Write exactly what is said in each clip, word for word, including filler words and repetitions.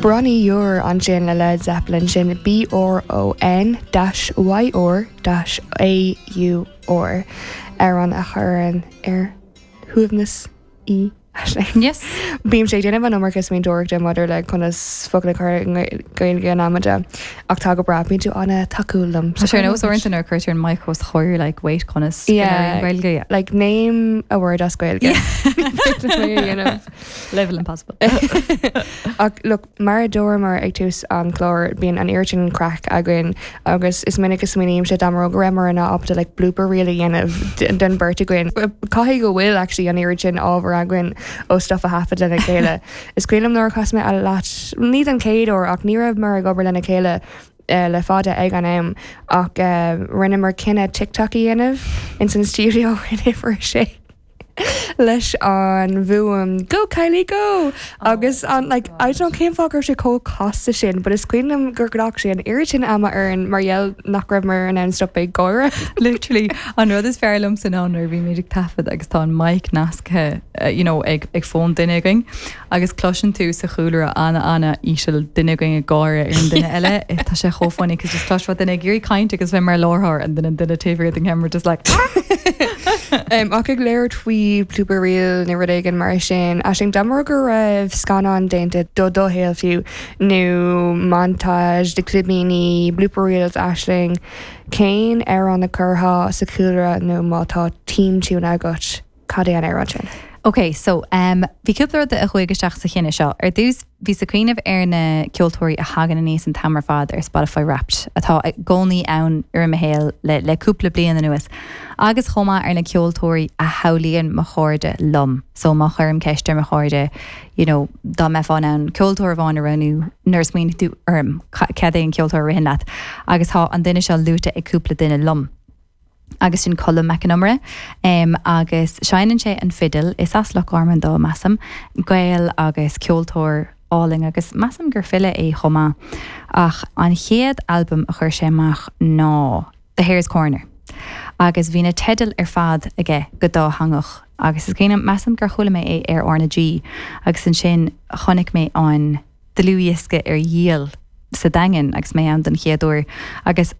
Bronny Yur ansin le Led Zeppelin sin B R O N dash Y R dash A U R ar an a chuireann ar shuaimhneas í. Yes. Bím sé déanamh an iomarca smaointeoireachta maidir le conas focail chur Gaeilge an amada ach tá go breá bíonn tú an-tacúil liom. Tá sé nó orintanta ar cuirtear an mic os choir like wait conas Yeah. Gaeilge. Like name a word as Gaeilge. Level impossible. Ach look mar a dúramar ag tús an chlár bíonn an oiread sin craic againn agus is minic is smaoiním sé dá mba go rabhamar in ábalta like blooper reel a dhéanamh den beirt againn. Caithfidh go bhfuil actually an oiread sin ábhar againn ó stuff a thaifead lena chéile. Is cuimhin nuair chas mé leat ní an chéad uair ach ní raibh mar ag obair lena chéile uh, le fada ag an am ach uh, rinneamar cinneadh TikTok a dhéanamh in san studio in uimhir sé. leis an bhfuaim go Kylie go agus an like I don't cén fáth sé chomh casta sin, but is cuimhin gur ghlac sé an oiread sin ama orainn mar gheall nach raibh mar an stop ag gáire. Literally an rud is fearr liom san an bhí mé ag taifead agus tá an mic nasctha uh, you know, ag ag fón duine againn agus cloiseann tú sa chúlra an an íseal duine againn ag gáire ar an duine eile tá sé chomh funny cos just cloisfeá duine ag iarraidh caint agus bheith mar láthar an duine duine taobh den camera just like Um, ach ag labhairt faoi blooper reel nó rud éigin mar sin a sin dá mba go raibh scannán déanta do do shaol fiú nó montage de clipíní blooper reels Aisling cén amhrán a chuirfeá sa chúlra nó má tá theme tune agat cad é an amhrán sin. Ok, so um, bhí cúpla rud a chuaigh isteach sa chinneadh seo. Ar dtús bhí ag cuimhneamh ar na ceoltóirí a thagann aníos an t-am ar fad ar Spotify Wrapped atá i gcónaí ann ar mo shaol le, le cúpla bliain anuas. Agus chomh maith ar na ceoltóirí a shamhlaíonn mo chairde liom. So má chuirim ceist ar mo chairde, you know, dá mbeifeá in ann ceoltóir amháin a roghnú nuair a smaoiníonn tú orm cad é an ceoltóir a ritheann leat. Agus tá an duine seo luaite ag cúpla duine liom. agus sin Colm Mac Con Iomaire um, agus seinneann sé an fidil is as Loch Garman dó measaim, Gael agus ceoltóir álainn agus measaim gur file é chomh maith. Ach an chéad albam a chuir sé amach ná The Hare's Corner. Agus bhí na teidil ar fad aige go dátheangach agus is cuimhin measaim gur chuala mé é ar R na G agus ansin chonaic mé an dlúthdhiosca ar dhíol sa Daingean agus mé ann den chéad uair agus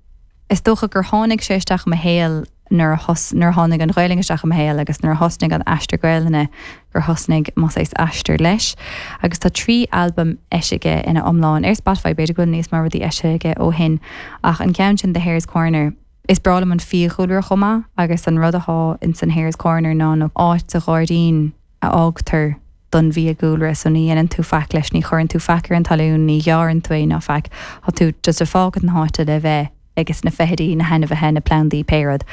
is dócha gur tháinig sé isteach mo shaol nuair a thos nuair a tháinig an Ghaeilge isteach mo shaol agus nuair a thosnaigh an aistear Gaelainne gur thosnaigh mo saghas aistear leis. agus tá trí albam eisithe ina iomlán ar Spotify b'fhéidir go bhfuil níos mó rudaí eisithe aige ó shin ach an ceann sin The Hare's Corner. Is breá liom an fiadhúlra chomh maith agus an rud atá in san Hare's Corner ná nó áit sa ghairdín a fhágtar don bhfiadhúlra so ní dhéanann tú faic leis ní chuireann tú faic ar an talún ní ghearrann tú é ná faic Tá tú just ag fágáil na háite le bheith agus na feithidí na hainmhithe na plandaí pé rud.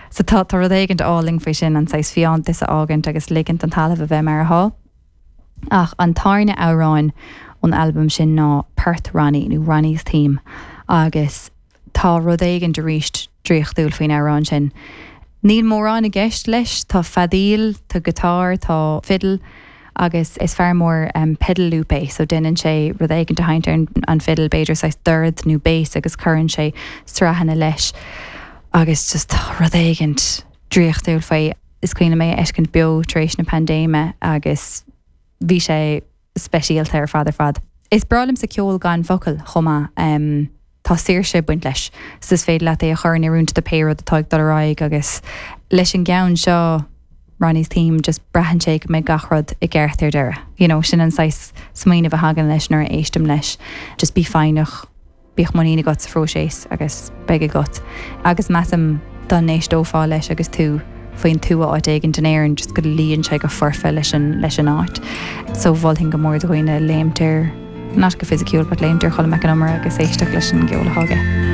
So tá tá rud éigin álainn faoi sin an saghas fiántas a fhágaint agus ligint an talamh a bheith mar atá. Ach an tarna amhrán ón albam sin ná Port Ronnie nó Ronnie's Theme agus tá rud éigin arís draíochtúil faoin amhrán sin. Níl mórán i gceist leis, tá feadaíl, tá guitar, tá fiddle, agus is fear mór um, pedal loop é, so déanann sé rud éigin a sheinnt ar an fiddle b'fhéidir saghas dord nó bass agus cuireann sé sraitheanna leis agus just tá rud éigin draíochtúil faoi is cuimhin mé fheiscint beo tar éis na paindéime agus bhí sé speisialta ar fad ar fad. Is breá liomsa ceol gan focal chomh maith um, tá saoirse ag baint leis, so is féidir leat é a chur in oiriúint do pé rud atá ag dul ar aghaidh agus leis an gceann seo Ronnie's Theme just braitheann sé go mbeidh gach rud i gceart ar deireadh. You know, sin an saghas smaoineamh a thagann leis nuair a éistim leis, just bí foighneach bíodh muinín agat sa phróiseas agus beidh agat. Agus measaim dá n-éisteofá leis agus tú faoin tuath áit éigin in Éirinn just go luíonn sé go foirfe leis an leis an áit. So mholfainn go mór do dhaoine léimt ar not go fisiciúil, but léimt ar Cholm Mac Con Iomaire agus éisteacht leis an gceol atá aige.